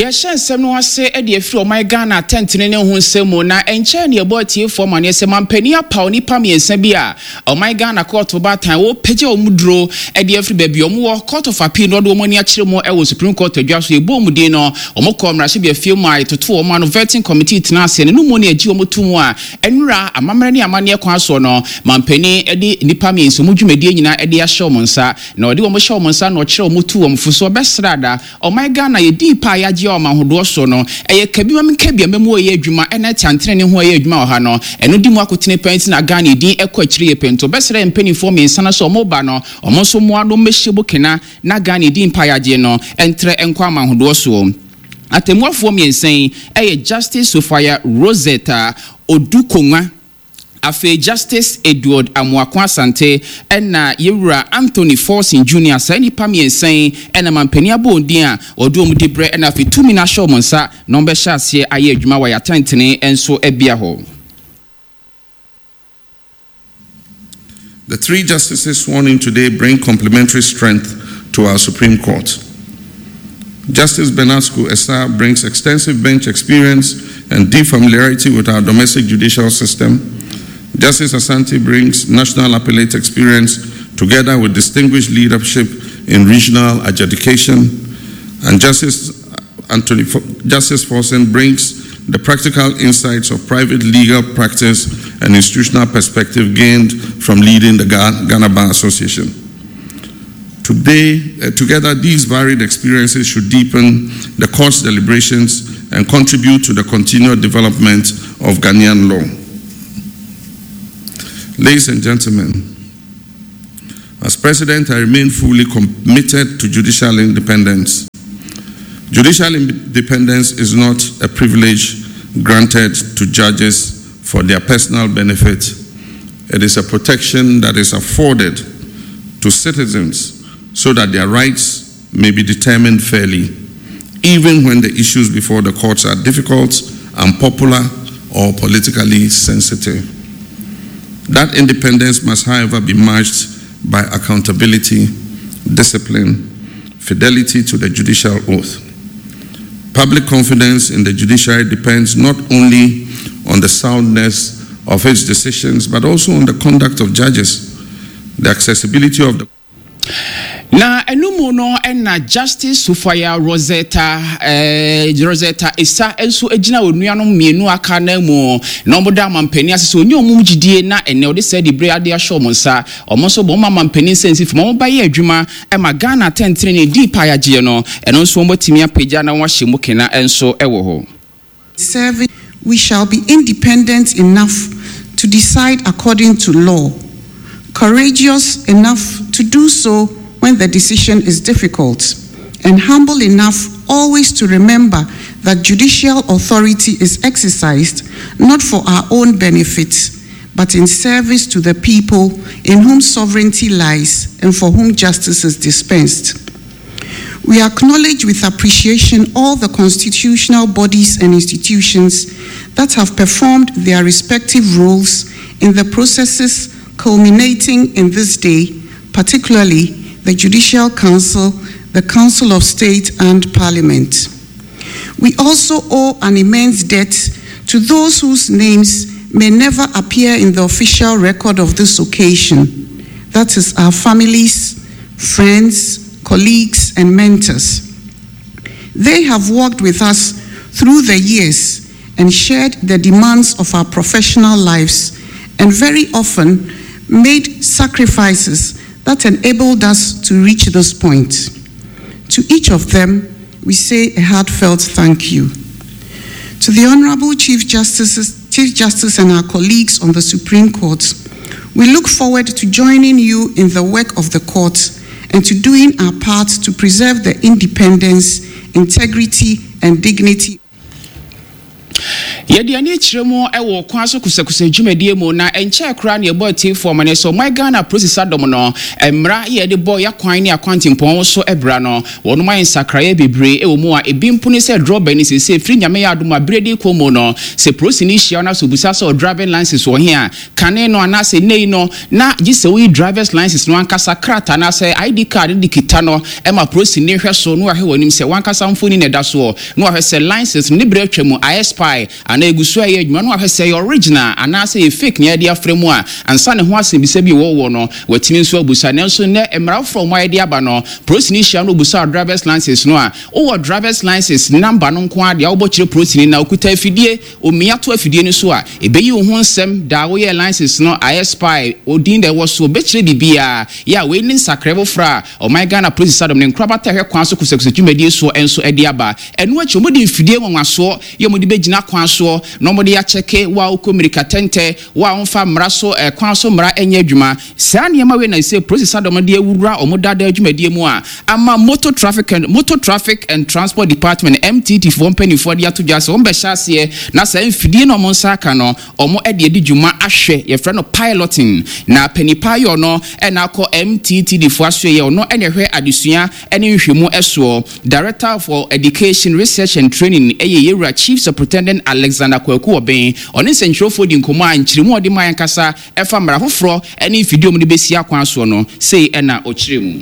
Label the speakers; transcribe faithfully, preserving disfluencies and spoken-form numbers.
Speaker 1: Yɛhyɛ nsɛm no ase de afiri ɔman Ghana atɛntene ne ho nsɛm mu, na ɛnkyɛn ne ɛbɔ atiefoɔ ma neɛ sɛ mampanin apaw nnipa mmiɛnsa bi a ɔman Ghana kɔɔto baatan wɔpagya wɔn duro de afiri baabi wɔn wɔ Court of Appeal na ɔde wɔn ani akyerɛ mu wɔ Supreme Court adwa so. Yɛbɔ wɔn din no, wɔn kɔ mmarahyɛbea fie mu a yɛtoto wɔn ano. Vetting committee tena ase no mu ne agye wɔn to mu a ɛnura amammerɛ ne amanneɛ kwan soɔ no, mampanin de nnipa mmiɛnsa mu dwumadie nyinaa de ahyɛ wɔn nsa, na ɔde wɔn hyɛ wɔn nsa na ɔkyerɛ wɔn tu wɔn fo so. Ɔbɛsrɛ ada ɔman Ghana yɛdii pa a yɛagye ɔma ahodoɔ so no, ɛyɛ kabi ma nkabi a mɛmu ɛyɛ adwuma ɛna ɛte ne ho ɛyɛ adwuma wɔ ha no, ɛno di mu akotene pɛn nti na Ghana din ɛkɔ akyire yɛ pɛnto. Bɛsrɛ mpanimfoɔ mmiɛnsa no sɛ ɔmo ba no, ɔmo nso mmoa no mmɛhyɛ bokena na Ghana din pa yɛagye no ɛntrɛ ɛnkɔ ama ahodoɔ soɔ. Atemmuafoɔ mmiɛnsa yi ɛyɛ Justice Sophia Rosetta Odukonwa, afei Justice Edward Amoako Asante, ɛna yɛwura Anthony Forson Junior. Saa nnipa mmiɛnsa yi ɛna mampanin abɔ wɔn din a wɔde wɔn di berɛ, ɛna afei tumi no ahyɛ wɔn nsa na wɔbɛhyɛ aseɛ ayɛ adwuma wɔ yɛatɛntene nso bia hɔ.
Speaker 2: The three justices sworn in today bring complementary strength to our Supreme Court. Justice Bernasko Esaah brings extensive bench experience and deep familiarity with our domestic judicial system. Justice Asante brings national appellate experience together with distinguished leadership in regional adjudication. And Justice Anthony Justice Forson brings the practical insights of private legal practice and institutional perspective gained from leading the Ghana Bar Association. Today, uh, together, these varied experiences should deepen the court's deliberations and contribute to the continued development of Ghanaian law. Ladies and gentlemen, as president, I remain fully committed to judicial independence. Judicial independence is not a privilege granted to judges for their personal benefit. It is a protection that is afforded to citizens so that their rights may be determined fairly, even when the issues before the courts are difficult, unpopular, or politically sensitive. That independence must, however, be matched by accountability, discipline, fidelity to the judicial oath. Public confidence in the judiciary depends not only on the soundness of its decisions, but also on the conduct of judges, the accessibility of the
Speaker 1: Na ɛno mu no, ɛna Justice Sophia Rosetta eh, Rosetta Esa nso gyina onuanom mmienu aka na mu na wɔn da amampanin ase sɛ onye wɔn gyidie na ɛnɛ ɔde sɛ de bere ade ahyɛ wɔn nsa. Wɔn nso bɔ wɔn amampanin sɛ nsi fam wɔn ba yɛ adwuma ɛma Ghana atɛntene ne di pa ayagyeɛ no, ɛno nso wɔn bɛtumi apagya na wɔn ahyɛ mu kena nso ɛwɔ hɔ.
Speaker 3: Serving, we shall be independent enough to decide according to law, courageous enough to do so when the decision is difficult, and humble enough always to remember that judicial authority is exercised not for our own benefit, but in service to the people in whom sovereignty lies and for whom justice is dispensed. We acknowledge with appreciation all the constitutional bodies and institutions that have performed their respective roles in the processes culminating in this day, particularly the Judicial Council, the Council of State, and Parliament. We also owe an immense debt to those whose names may never appear in the official record of this occasion. That is, our families, friends, colleagues, and mentors. They have worked with us through the years and shared the demands of our professional lives, and very often made sacrifices that enabled us to reach this point. To each of them, we say a heartfelt thank you. To the Honorable Chief Justices, Chief Justice and our colleagues on the Supreme Court, we look forward to joining you in the work of the court and to doing our part to preserve the independence, integrity, and dignity.
Speaker 1: Yɛde ani kyerɛ mu wɔ kwan so kusakusa dwumadie mu, na nkyɛn koraa ne yɛbɔ atiefoɔ ma ne sɛ ɔman Ghana polisi adɔm no, mmara yɛde bɔ yɛakwan ne akwantempɔn so ɛbra no, wɔnom ayɛ nsakraeɛ bebree wɔ mu a ebi mpo ne sɛ drɔba ni sese firi Nyame yɛ adom a berɛ di kɔ mu no, sɛ polisi ni hyia no so busa sɛ driving license wɔ he a, kane no anaasɛ nnɛ yi no na gye sɛ woyi drivers license no ankasa krataa anaasɛ I D card de kita no ɛma polisi ni hwɛ so na wahwɛ wɔ anim sɛ wankasa mfoni na ɛda soɔ, na wahwɛ sɛ license no ne berɛ atwa mu ayɛ expire anaa egu so a ɛyɛ adwuma, na wahwɛ sɛ ɛyɛ original anaasɛ yɛ fake nea yɛde afrɛ mu a ansa ne ho asɛmbisa bi wɔwɔ no watumi nso abusa. Nanso nnɛ mmara foforɔ mu ayɛ de aba no, polisi ni hyia no obusa drivers license no a, wowɔ drivers license number no nko adeɛ a wobɔ kyerɛ polisi ni na okuta afidie omia to afidie no so a, ɛbɛyi wo ho nsɛm da woyɛ license no ayɛ expire, odin da ɛwɔ so obɛkyerɛ biribiara yɛ a. Wei ne nsakrae foforɔ a ɔman Ghana polisi sadɔm ne nkorabata ɛhwɛ kwan so kusakusa dwumadie soɔ nso de aba. Ɛno akyi, wɔde mfidie nwanwasoɔ yɛ wɔde bɛgyina kwan soɔ na wɔde akyɛke wo a wokɔ mmirika tɛntɛ, wo a wɔmfa mmara so ɛkwan so mmara nyɛ adwuma. Saa nneɛma wei na sɛ polisi sadɔm de awura wɔn dada dwumadie mu a ama motor traffic and motor traffic and Transport Department, M T T foɔ mpanimfoɔ de ato dwa sɛ wɔn bɛhyɛ aseɛ na saa mfidie na wɔn nsa aka no wɔn de adi dwuma ahwɛ, yɛfrɛ no piloting. Na panipa ayɔ no ɛna akɔ M T T D foɔ aso yɛ ɔno ɛna ɛhwɛ adesua ɛne nhwɛmu ɛsoɔ, Director for Education, Research and Training, ɛyɛ yɛwura Chief Superintendent Alexander Kwaku Ɔbɛn. Ɔne nsɛntwerɛfoɔ di nkɔmmɔ a nkyerɛmu a ɔde maa yɛn kasa ɛfa mmara foforɔ ɛne mfidie a wɔde bɛsi akwan soɔ no sei ɛna ɔkyerɛ mu.